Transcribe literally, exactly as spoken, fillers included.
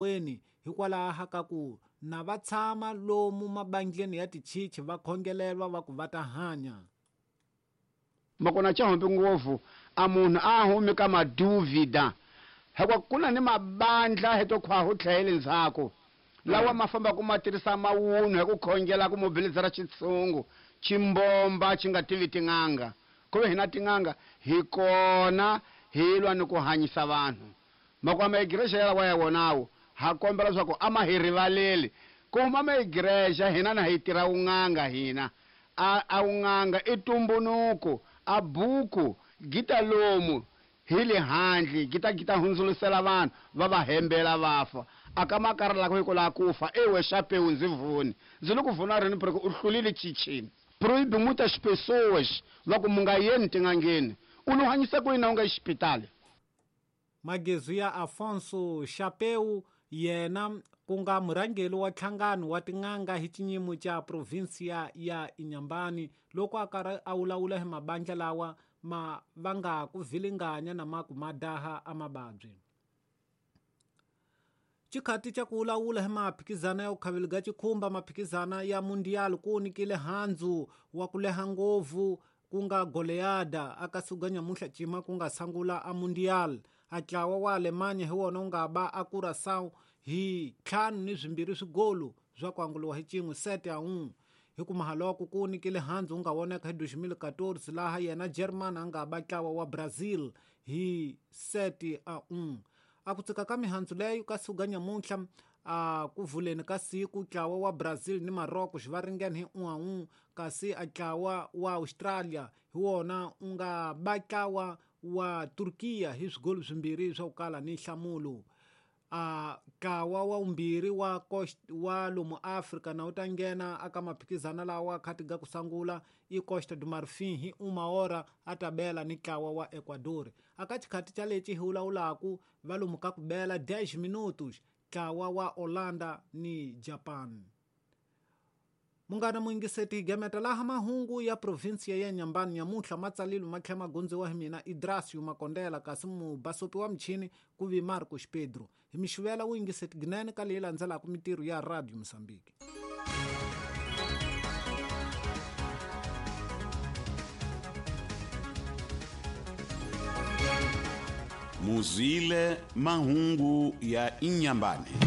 Weni hikwalaho ka ku na va tshama lomu mabandleni ya tichichi va khongelelwa va ku va ta hanya. Makona chahombe ngopfu a munhu a humi ka maduvida hikuva ku na ni mabandla heto khwahu tlhele ndzhaku lawa ma famba ku ma tirhisa mawunhu hi ku khongela ku mobilizera xitshungu chimbomba xi nga tivi tin'anga ku ve hina tin'anga hi kona hi lwa ni ku hanyisa vanhu makwama igreja yalawa ya wonawo ha kombela leswaku a ma hi rivaleli ku huma ma igreja hina na hi tirha wun'anga hina a a wun'anga i tumbunuku a buku gita lomu hi le handle gita gita hundzulusela vanhu va va hembela va fa a ka makara lako hi ku lava ku fa ewe xapewu ndzi vuni ndzi le ku vuna rini porque u hlulile chichini proíbe muitas pessoas va ku mu nga yeni tin'angeni u lo hanyisa ku yini u nga yi xipitali. Magezu ya Afonso Chapeu yena ku nga murhangeri wa nhlangano wa tin'anga hi xinyimo xa provinsia ya Inhambane loko a karhi a vulavula hi mabandla lawa ma vanga ku vilinganya na ma ku madaha a mavabyi. Xikhati xa ku vulavula hi maphikizana ya ku khaveliga xikhumba maphikizana ya mundial ku nyikile handzu wa ku leha ngopfu ku nga goleada aka suka nyamuhla cima ku nga sangula a mundial a ntlawa wa Alemanya hi wona wu nga ba a Curaçao hi ntlhanu ni swimbirhi swigolo swa ku anguliwa hi cin'we sete a un'we hi ku mahaloko ku nyikile handzu wu nga voneka hi dois mil e quatorze laha yena German a nga ba ntlawa wa Brazil hi sete a un'we. A ku tsika ka mihandzu leyo ka suka nyamuntlha a ku vuleni ka siku ntlawa wa Brazil ni Morocco xi va ringene hi un'we a un'we kasi a ntlawa wa Australia hi wona wu nga ba ntlawa wa Turkiya hi swigolo swimbirhi swa ku kala ni nhlamulo. A ntlawa wa vumbirhi wa wa lomu Afrika na wu ta nghena aka maphikizana lawa khati ga ku sangula i Costa do Marfim hi uma hora a ta bela ni ntlawa wa Ecuador. Aka xikhati xa lexi hi vulavulaku va lomu ka ku bela dez minutos ntlawa wa Holanda ni Japan. Munghana muyingiseti gemeta laha mahungu ya provinsia ya Inhambane nyamuntlha matsalilo ma tlhela ma gondziwa hi mina Idrasio Makondela kasi mubasopi wa michini ku vi Marcos Pedro. Hi mixivela wu yingiseti ginene ka leyi landzelaka mitirho ya Radio Mozambique. Muzwile mahungu ya Inhambane.